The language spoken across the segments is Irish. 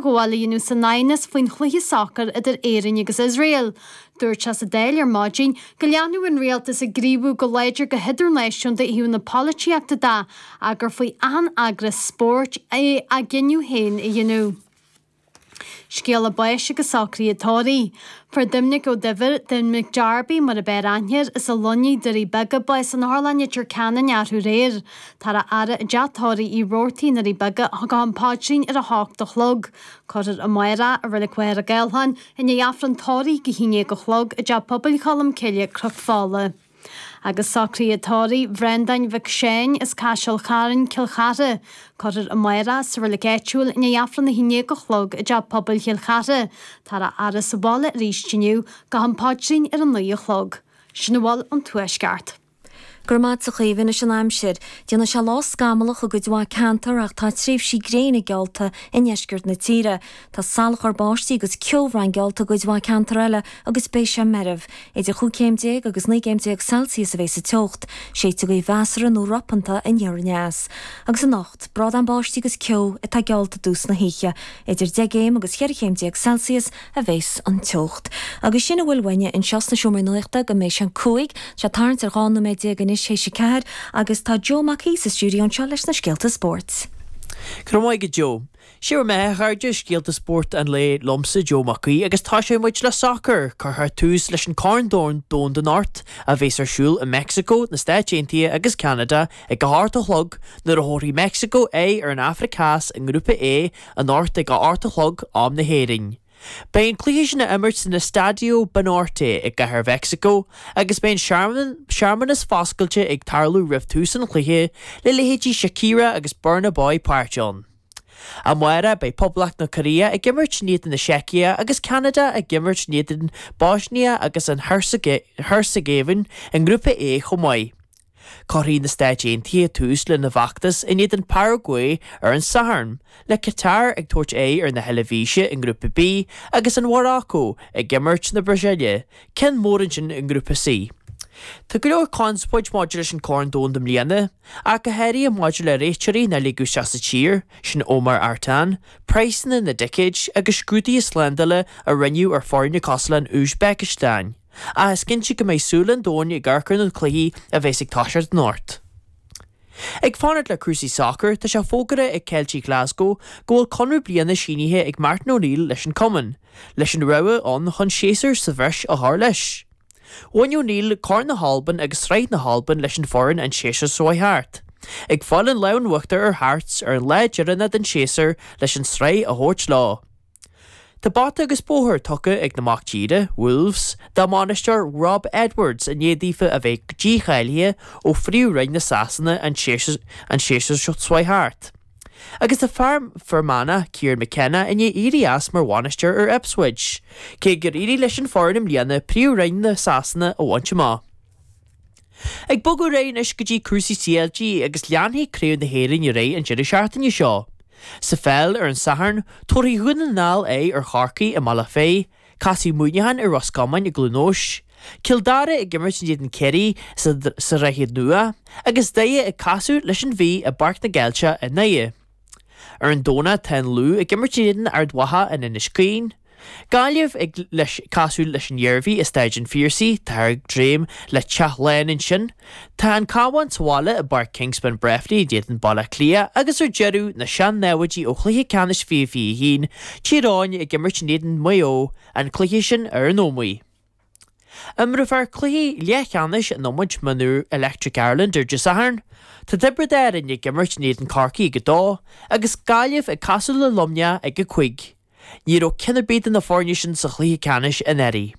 idirghabháil a dhéanamh san aighneas faoin chluiche sacair idir Éirinn agus Iosrael. Dúirt sé sa Dáil ar maidin go leanfadh an rialtas ag gníomhú go láidir go hidirnáisiúnta ó thaobh na polaitíochta de ach gur faoi achan eagras spóirt é a gcinneadh féin a dhéanamh. Scéala báis agus socruithe tórraimh. Fuair Doimnic Ó Duibhir, Doimnic Darby mar ab fhearr aithne air, as an Luinnigh, Doirí Beaga, bás in Otharlann Leitir Ceanainn arú aréir. Táthar á fhaire i dteach tórraimh Uí Robhartaigh i nDoirí Beaga go ham paidrín ar a hocht a chlog. Cuirfear amárach i Reilig Mhachaire Gathlán i ndiaidh Aifreann tórraimh ag a haon déag a chlog i dTeach Pobail Cholm Cille, Cnoc Fola. Agus socruithe tórraimh Bhreandáin Mhic Seáin as Caiseal Chairn, Cill Chartha. Cuirfear amárach sa reilig áitiúil i ndiaidh Aifreann a haon déag a chlog i dTeach Pobail Chill Chartha. Táthar á fhaire sa bhaile arís inniu go ham paidrín ar a naoi a chlog. Sin a bhfuil ón Tuaisceart. Go raibh maith agat a Chaoimhe. Anois an aimsir. Déanfaidh sé lá scamallach i gcuid mhaith ceantar ach tá tréimhsí gréine geallta i ndeisceart na tíre. Tá salachar báistí agus ceobhrán geallta i gcuid mhaith ceantar eile agus beidh sé meirbh. Idir chúig chéim déag agus 19 gcéim Celsius a bheidh sa teocht. Séidfidh gaoth mheasartha nó ropanta aniar aneas. Agus anocht, brádán báistí agus ceo atá geallta i dtús na hoíche. Idir 10 gcéim agus 14 chéim Celsius a bheas an teocht. Agus sin a bhfuil uainne anseo sna Seomraí Nuachta go mbeidh sé an 5. Tá sé ag tarraingt ar 12 nóiméad anois théis a ceathair agus tá Joe Mac Aoidh sa stiúideo anseo leis na scéalta spóirt. Go raibh maith agat Joe. Sé bhur mbeatha, a chairde, scéalta spóirt an lae liomsa, Joe Mac Aoidh, agus toiseoidh muid le sacar. Cuirfear tús leis an Corn Domhanda anocht, a bheas ar siúl i Meicsiceo, na Stáit Aontaithe agus Ceanada ag a hocht a chlog, nuair a thabharfaidh Meicsiceo aghaidh ar an Afraic Theas i nGrúpa A anocht ag a hocht a chlog, am na hÉireann. Beidh an cluiche sin á imirt san Estadio Banorte i gCathair Mheicsiceo agus beidh an searmanas foscailte ag tarlú roimh tús an chluiche le leithéidí Shakira agus Burna Boy páirt ann. Amárach beidh Poblacht na Cóiréa ag imirt in éadan na Seicia agus Ceanada ag imirt in éadan Boisnia agus an Heirseagaivéin i nGrúpa A chomh maith. Cuirfidh na Stáit Aontaithe tús lena bhfeachtas in éadan Paraguay ar an Satharn, le Qatar ag tabhairt aghaidh ar na hEilvéise i nGrúpa B agus an Mhorocco ag imirt na Brasaíle, ceann mór ansin i nGrúpa C. Tá go leor conspóid maidir leis an Corn Domhanda i mbliana, ach go háirithe maidir le réiteoirí nár ligeadh isteach sa tír, sin Omar Artan, praghsanna na dticéid agus scrúduithe slándála a rinneadh ar foirne cosúil leis an Úisbéiceastáin. Ach is cinnte go mbeidh súile an domhain ag amharc ar na cluichí a bheas ag toiseacht anocht. Ag fanacht le cúrsaí sacair, tá sé fógartha ag Ceiltigh Glasgow go bhfuil conradh bliana sínithe ag Martin O'Neill leis an cumann, leis an rogha ann chun séasúr sa bhreis a chur leis. Bhain O'Neill Corn na hAlban agus Sraith na hAlban leis an foireann an séasúr seo chuaigh thart, ag fáil an lámh in uachtar ar Hearts ar an lá deireanach den séasúr leis an sraith a thabhairt leo. Tá bata agus bóthar tugtha ag na mac tíre, Wolves, dá mbainisteoir Rob Edwards i ndiaidh daofa a bheith dícháilithe ó Phríomh-Roinn na Sasana an séasúr seo chuaigh thart. Agus tá fear Fear Manach, Kieran McKenna, i ndiaidh éirí as mar bhainisteoir ar Ipswich, cé gur éirigh leis an foireann i mbliana Príomh-Roinn na Sasana a bhaint amach. Ag bogadh ar aghaidh anois go dtí cúrsaí CLG agus leanfaidh Craobh na hÉireann ar aghaidh an deireadh seachtaine seo. Sa pheil ar an Satharn, tabharfaidh Dhún na nGall aghaidh ar Chorcaigh i mBealach Féich, Casfaidh Muineachán ar Ros Comáin i gCluain Eois, Cill Dara ag imirt in éadan Ciarraí sa Droichead Nua agus Doire ag casadh leis an Mhí i bPáirc na gCeilteach i nDoire. Ar an Domhnach tá an Lú ag imirt in éadan Ard Mhacha in Inis Caoin, Gaillimh ag leis casadh leis an Iarmhí i Staid an Phiarsaigh, táthar ag dréim le teach lán ansin. Tá an Cabhán sa bhaile i bPáirc Kingspan Breffni in éadan Baile Átha Cliath agus ar deireadh, na sean-naimhde ó chluiche ceannais 2021, Tír Eoghain ag imirt in éadan Maigh Eo, an cluiche sin ar an Ómaigh. Imreofar cluichí leathcheannais in iomáint mionúr Electric Ireland ar Dé Sathairn. Tá Tiobraid Árann ag imirt in éadan Corcaigh ag 2 agus Gaillimh ag casadh le Luimneach ag 5. Ní raibh ceann ar bith de na foirne sin sa chluiche ceannais anuraidh.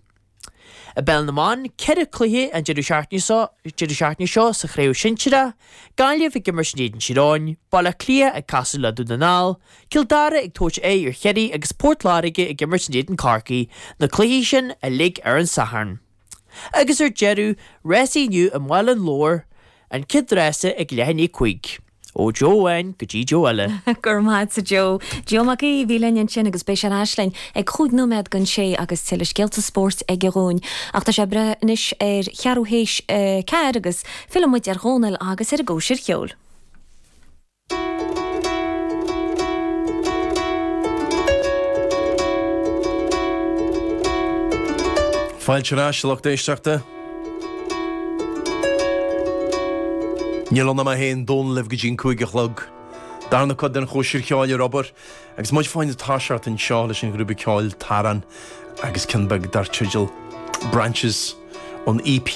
I bPeil na mBan, 4 cluiche an deireadh seachtaine seo deireadh seachtaine seo sa chraobh sinsearach, Gaillimh ag imirt in éadan Tír Eoghain, Baile Átha Cliath ag casadh le Dún na nGall, Cill Dara ag tabhairt aghaidh ar Chiarraí agus Port Láirge ag imirt in éadan Corcaí, na cluichí sin uilig ar an Satharn. Agus ar deireadh, rásaí inniu i mBaile an Lobhair, an chéad rása ag leath i ndiaidh 5. Ó Joe amháin go dtí Joe eile. Go raibh maith agat a Joe. Joe Mac Aoidh a bhí linn ansin agus beidh sé ar ais linn ag chúig nóiméad don sé agus tuilleadh scéalta spóirt aige dhúinn. Ach tá sé ag breith anois ar cheathrú théis a ceathair agus filleann muid ar Dhónal agus ar an gcóisir cheoil. Fáilte ar ais, a lucht éisteachta. Níl ann ach mé féin, Dónal libh go dtí an 5 a chlog. Darna cuid den chóisir cheoil ar obair agus muid fá choinne toiseacht anseo leis an ghrúpa ceoil Taran agus ceann beag dar teideal Branches ón EP.